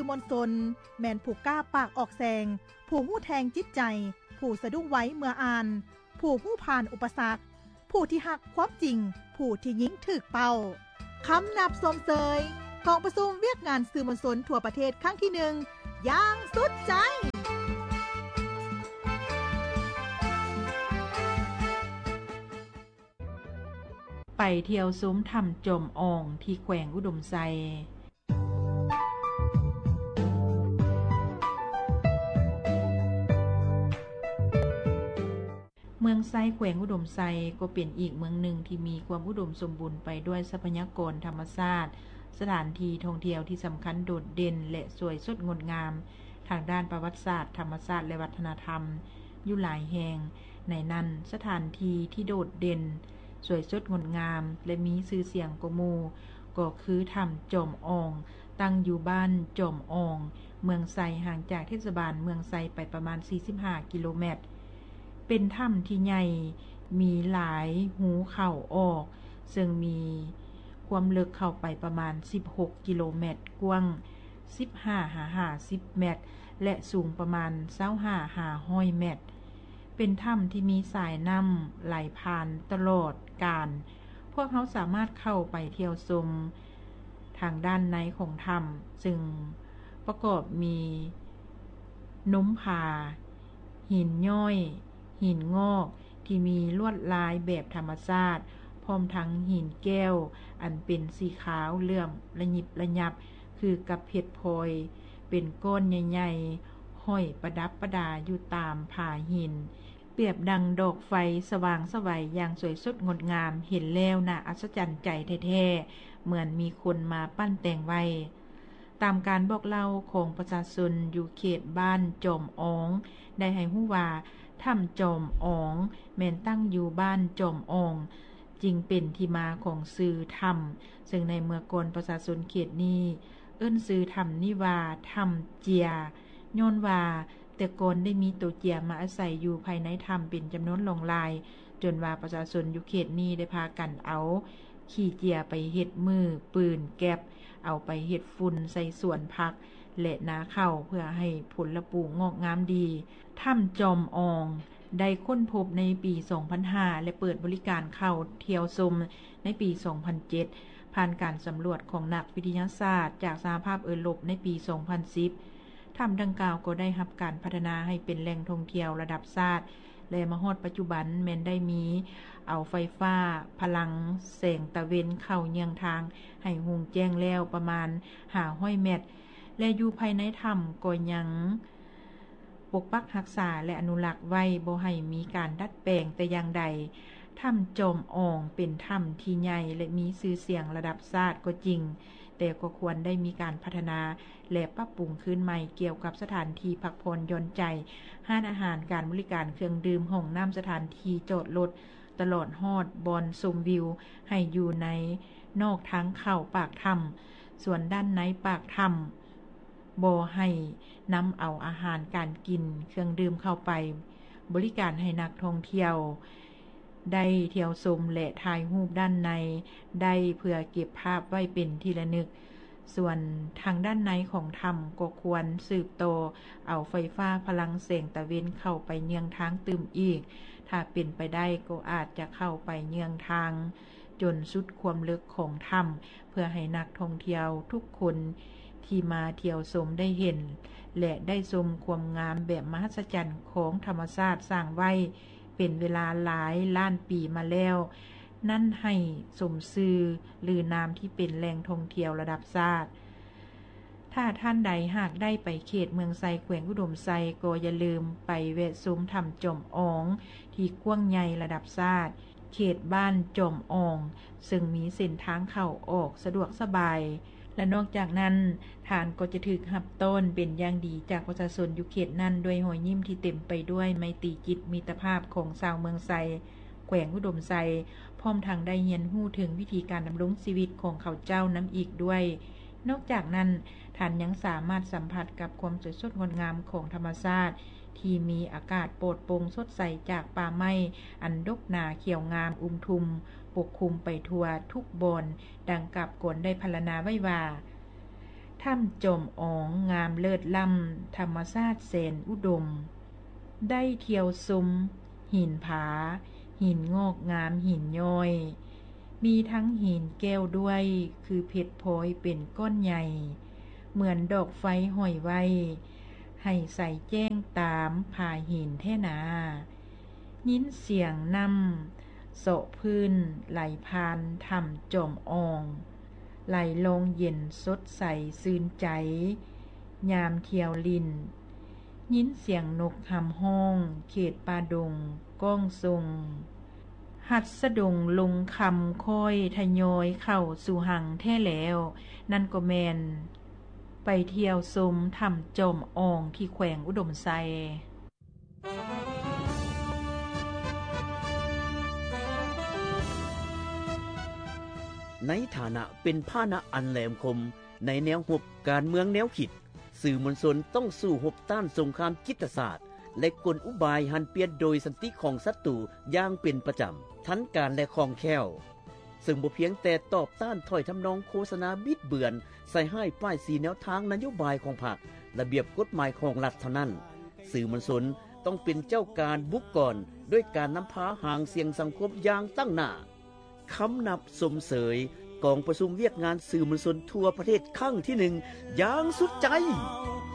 ມວນຊົນ ແມ່ນຜູ້ກ້າປາກອອກແສງ, ຜູ້ຮູ້ແທງຈິດໃຈ, ຜູ້ສະດຸ້ງໄວເມື່ອອ່ານ, ຜູ້ຮູ້ຜ່ານອຸປະສັກ, ຜູ້ທີ່ຮັກຄວາມຈິງ, ຜູ້ທີ່ຍິງຖືກເປົ້າ. ຄຳນັບຊົມເຊີຍ ກອງປະຊຸມວຽກງານສື່ມວນຊົນທົ່ວປະເທດຄັ້ງທີໜຶ່ງ ຢ່າງສຸດໃຈ. ໄປທ່ຽວຊົມຖ້ຳຈອມອອງທີ່ແຂວງອຸດົມໄຊ. ເມືອງໄຊ ແຂວງອຸດົມໄຊ ກໍເປັນອີກເມືອງໜຶ່ງທີ່ມີຄວາມອຸດົມສົມບູນໄປດ້ວຍຊັບພະຍາກອນທຳມະຊາດ, ສະຖານທີ່ທ່ອງທ່ຽວທີ່ສຳຄັນໂດດເດັ່ນ ແລະ ສວຍສົດງົດງາມ ທາງດ້ານປະຫວັດສາດ, ທຳມະຊາດ ແລະ ວັດທະນະທຳຢູ່ຫຼາຍແຫ່ງ. ໃນນັ້ນ, ສະຖານທີ່ທີ່ໂດດເດັ່ນ, ສວຍສົດງົດງາມ ແລະ ມີຊື່ສຽງກວ່າໝູ່ ກໍຄືຖ້ຳຈອມອອງ, ຕັ້ງຢູ່ບ້ານຈອມອອງ, ເມືອງໄຊ, ຫ່າງຈາກເທດສະບານເມືອງໄຊໄປປະມານສີ່ສິບຫ້າກິໂລແມັດ. ເປັນຖ້ຳທີ່ໃຫຍ່, ມີຫຼາຍຮູເຂົ້າອອກ, ເຊິ່ງມີຄວາມເລິກເຂົ້າໄປປະມານສິບຫົກກິໂລແມັດ, ກວ້າງ ສິບຫ້າຫາຫ້າສິບແມັດ ແລະ ສູງປະມານຊາວຫ້າຫາຮ້ອຍແມັດ. ເປັນຖ້ຳທີ່ມີສາຍນ້ຳໄຫຼຜ່ານຕະຫຼອດການ. ພວກເຮົາສາມາດເຂົ້າໄປທ່ຽວຊົມທາງດ້ານໃນຂອງຖ້ຳ, ເຊິ່ງປະກອບມີນົມຜາ, ຫີນຍ້ອຍ, ຫີນງອກ ທີ່ມີລວດລາຍແບບທຳມະຊາດ, ພ້ອມທັງຫີນແກ້ວອັນເປັນສີຂາວເຫຼື້ອມລະຍິບລະຍັບ ຄືກັບເພັດພອຍ, ເປັນກ້ອນໃຫຍ່ໆ ຫ້ອຍປະດັບປະດາຢູ່ຕາມຜາຫີນ, ປຽບດັ່ງດອກໄຟສະຫວ່າງໄສຢ່າງສວຍສົດງົດງາມ, ເຫັນແລ້ວໜ້າອັດສະຈັນໃຈແທ້ໆ ເໝືອນມີຄົນມາປັ້ນແຕ່ງໄວ້. ຕາມການບອກເລົ່າຂອງປະຊາຊົນຢູ່ເຂດບ້ານຈອມອອງ ໄດ້ໃຫ້ຮູ້ວ່າ ຖ້ຳຈອມອອງແມ່ນຕັ້ງຢູ່ບ້ານຈອມອອງ, ຈຶ່ງເປັນທີ່ມາຂອງຊື່ຖ້ຳ, ເຊິ່ງໃນເມື່ອກ່ອນປະຊາຊົນເຂດນີ້ເອີ້ນຊື່ຖ້ຳນີ້ວ່າ ຖ້ຳເຈຍ, ຍ້ອນວ່າແຕ່ກ່ອນໄດ້ມີໂຕເຈຍມາອາໄສຢູ່ພາຍໃນຖ້ຳເປັນຈຳນວນຫຼວງຫຼາຍ, ຈົນວ່າປະຊາຊົນຢູ່ເຂດນີ້ໄດ້ພາກັນເອົາ ຂີ້ເຈຍໄປເຮັດມື ປືນ ແກັບ, ເອົາໄປເຮັດຝຸ່ນໃສ່ສວນຜັກ ແລະ ນາເຂົ້າ ເພື່ອໃຫ້ຜົນລະປູງອກງາມດີ. ຖ້ຳຈອມອອງໄດ້ຄົ້ນພົບໃນປີສອງພັນຫ້າ ແລະ ເປີດບໍລິການເຂົ້າທ່ຽວຊົມໃນປີສອງພັນເຈັດ ຜ່ານການສຳຫຼວດຂອງນັກວິທະຍາສາດຈາກສະຫະພາບເອີຣົບໃນປີສອງພັນສິບ. ຖ້ຳດັ່ງກ່າວກໍໄດ້ຮັບການພັດທະນາໃຫ້ເປັນແຫຼ່ງທ່ອງທ່ຽວລະດັບຊາດ ແລະ ມາຮອດປັດຈຸບັນແມ່ນໄດ້ມີເອົາໄຟຟ້າພະລັງແສງຕາເວັນເຂົ້າເຍືອງທາງໃຫ້ຮຸ່ງແຈ້ງແລ້ວປະມານຫ້າຮ້ອຍແມັດ ແລະ ຢູ່ພາຍໃນຖ້ຳກໍຍັງປົກປັກຮັກສາ ແລະ ອະນຸລັກໄວ້ບໍ່ໃຫ້ມີການດັດແປງແຕ່ຢ່າງໃດ. ຖ້ຳຈອມອອງເປັນຖ້ຳທີ່ໃຫຍ່ແລະມີຊື່ສຽງລະດັບຊາດກໍຈິງ, ແຕ່ກໍຄວນໄດ້ມີການພັດທະນາ ແລະ ປັບປຸງຄືນໃໝ່ກ່ຽວກັບສະຖານທີ່ພັກຜ່ອນຢ່ອນໃຈ, ຮ້ານອາຫານ, ການບໍລິການເຄື່ອງດື່ມ, ຫ້ອງນ້ຳ, ສະຖານທີ່ຈອດລົດ, ຕະຫຼອດຮອດບ່ອນຊົມວິວໃຫ້ຢູ່ໃນນອກທາງເຂົ້າປາກຖ້ຳ, ສ່ວນດ້ານໃນປາກຖ້ຳບໍ່ໃຫ້ນຳເອົາອາຫານການກິນ, ເຄື່ອງດື່ມເຂົ້າໄປບໍລິການໃຫ້ນັກທ່ອງທ່ຽວ ໄດ້ທ່ຽວຊົມ ແລະ ຖ່າຍຮູບດ້ານໃນໄດ້ເພື່ອເກັບພາບໄວ້ເປັນທີ່ລະນຶກ. ສ່ວນທາງດ້ານໃນຂອງຖ້ຳກໍຄວນສືບຕໍ່ເອົາໄຟຟ້າພະລັງແສງຕາເວັນເຂົ້າໄປເຍືອງທາງຕື່ມອີກ. ຖ້າເປັນໄປໄດ້ກໍອາດຈະເຂົ້າໄປເຍືອງທາງຈົນສຸດຄວາມເລິກຂອງຖ້ຳ ເພື່ອໃຫ້ນັກທ່ອງທ່ຽວທຸກຄົນທີ່ມາທ່ຽວຊົມໄດ້ເຫັນ ແລະ ໄດ້ຊົມຄວາມງາມແບບມະຫັດສະຈັນຂອງທຳມະຊາດສ້າງໄວ້ເປັນເວລາຫຼາຍລ້ານປີມາແລ້ວນັ້ນ ໃຫ້ສົມຊື່ລືນາມທີ່ເປັນແຫຼ່ງທ່ອງທ່ຽວລະດັບຊາດ. ຖ້າທ່ານໃດຫາກໄດ້ໄປເຂດເມືອງໄຊ ແຂວງອຸດົມໄຊ ກໍຢ່າລືມໄປແວະຊົມຖ້ຳຈອມອອງທີ່ກວ້າງໃຫຍ່ລະດັບຊາດ ເຂດບ້ານຈອມອອງ ເຊິ່ງມີເສັ້ນທາງເຂົ້າອອກສະດວກສະບາຍ ແລະ ນອກຈາກນັ້ນ ທ່ານກໍຈະຖືກຮັບຕ້ອນເປັນຢ່າງດີຈາກປະຊາຊົນຢູ່ເຂດນັ້ນ ດ້ວຍຮອຍຍິ້ມທີ່ເຕັມໄປດ້ວຍໄມຕີຈິດມິດຕະພາບຂອງຊາວເມືອງໄຊ ແຂວງອຸດົມໄຊ, ພ້ອມທັງໄດ້ຮຽນຮູ້ເຖິງວິທີການດຳລົງຊີວິດຂອງເຂົາເຈົ້ານຳອີກດ້ວຍ. ນອກຈາກນັ້ນ, ທ່ານຍັງສາມາດສຳຜັດກັບຄວາມສວຍສົດງົດງາມຂອງທຳມະຊາດ ທີ່ມີອາກາດປອດໂປ່ງສົດໃສຈາກປ່າໄມ້ອັນດົກໜາຂຽວງາມອຸມທຸ່ມປົກຄຸມໄປທົ່ວທຸກບ່ອນ, ດັ່ງກັບກອນໄດ້ພັນລະນາໄວ້ວ່າ, ຖ້ຳຈອມອອງງາມເລີດລ້ຳ ທຳມະຊາດແສນອຸດົມ ໄດ້ທ່ຽວຊົມຫີນຜາ, ຫີນງອກງາມ, ຫີນຍ້ອຍ, ມີທັງຫີນແກ້ວດ້ວຍ ຄືເພັດພອຍເປັນກ້ອນໃຫຍ່ ເໝືອນດອກໄຟຫ້ອຍໄວ້ ໃຫ້ໃສແຈ້ງຕາມຜາຫີນແທ້ນາ. ຍິນສຽງນ້ຳເຊາະພື້ນໄຫຼຜ່ານຖ້ຳຈອມອອງ ໄຫຼລອງເຢັນສົດໃສຊື່ນໃຈ ຍາມທ່ຽວຫຼິ້ນ. ຍິນສຽງນົກຮຳຮ້ອງເຂດປ່າດົງກ້ອງສົ່ງ ຫັດສະດົງລົງຄຳຄ່ອຍທະຍອຍເຂົ້າສູ່ຮັງແທ້ແລ້ວ. ນັ້ນກໍແມ່ນໄປທ່ຽວຊົມຖ້ຳຈອມອອງທີ່ແຂວງອຸດົມໄຊ. ໃນຖານະເປັນພາຫະນະອັນແຫຼມຄົມໃນແນວຮົບການເມືອງແນວຄິດ, ສື່ມວນຊົນຕ້ອງສູ້ຮົບຕ້ານສົງຄາມຈິດຕະສາດ ແລະ ກົນອຸບາຍຫັນປ່ຽນໂດຍສັນຕິຂອງສັດຕູຢ່າງເປັນປະຈຳ, ທັນການ ແລະ ຄ່ອງແຄ້ວ. ເຊິ່ງບໍ່ພຽງແຕ່ຕອບຕ້ານຖ້ອຍທຳນອງໂຄສະນາບິດເບືອນ, ໃສ່ຮ້າຍປ້າຍສີແນວທາງນະໂຍບາຍຂອງພັກ, ລະບຽບກົດໝາຍຂອງລັດເທົ່ານັ້ນ, ສື່ມວນຊົນຕ້ອງເປັນເຈົ້າການບຸກກອນ ດ້ວຍການນຳພາຫາງສຽງສັງຄົມຢ່າງຕັ້ງໜ້າ. ຄຳນັບຊົມເຊີຍກອງປະຊຸມວຽກງານສື່ມວນຊົນທົ່ວປະເທດຄັ້ງທີໜຶ່ງຢ່າງສຸດໃຈ.